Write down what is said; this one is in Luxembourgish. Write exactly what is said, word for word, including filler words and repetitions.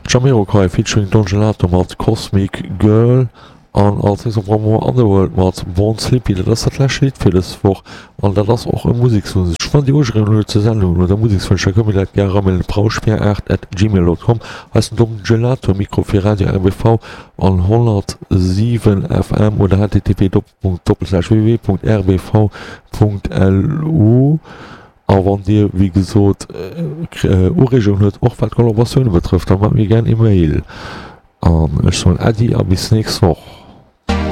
Jamiroquai featuring Don Gelato mat Cosmic Girl an als nächst am Programm hu mer Underworld mat Born Slippy. Dat ass dat lescht Lidd fir dës Woch an dat ass och e Musekswonsch. Wann Dir Ureegungen hutt zur Sendung oder Musekswënsch, da kënnt mir dat gär eramailen, brauschbier aacht at gmail dot com. Hei ass den Don Gelato um Mikro fir Radio R B V an honnertsiwen F M oder H T T P doppelpunkt doppelslash W W W Punkt R B V Punkt L U. A wann Dir, wéi gesot, Ureegungen hutt, och wat d'Kollaboratioune betrëfft, da maacht mir gär e Mail. An ech soen Äddi a bis nächst Woch.